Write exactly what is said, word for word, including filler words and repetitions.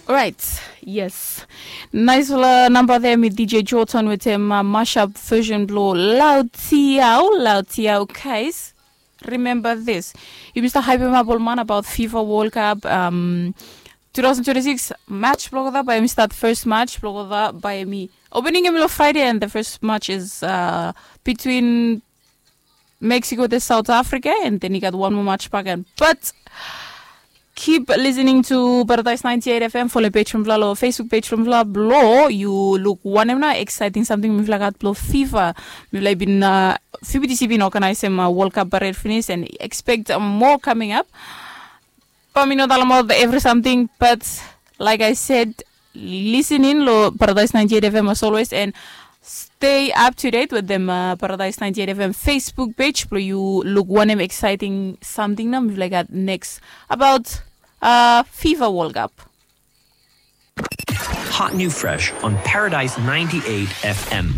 Orait, yes. Naisfala namba there mi D J Jordan wetem uh, mashup version blo Lautiau, Lautiau, guys. Remember this. Yumi stap hypem up ol man about FIFA World Cup. Um, two thousand twenty-six match blo gota by mi start first match blo gota by mi opening em lo Friday and the first match is uh, between Mexico to South Africa, and then you got one more match back. And but keep listening to Paradise ninety-eight F M, follow page from Vlalo, Facebook page from Vla, blo. You look one na exciting something mifla got blo FIFA. Mifla bin uh, F I B T C bin organize him uh, World Cup parade finish and expect uh, more coming up. But mi no talem about every something, but like I said, listen in lo Paradise ninety-eight F M as always and stay up to date with them uh, Paradise ninety-eight F M Facebook page blo you look wanem exciting something na mifla gat next about uh, FIFA World Cup. Hot new fresh on Paradise ninety-eight F M.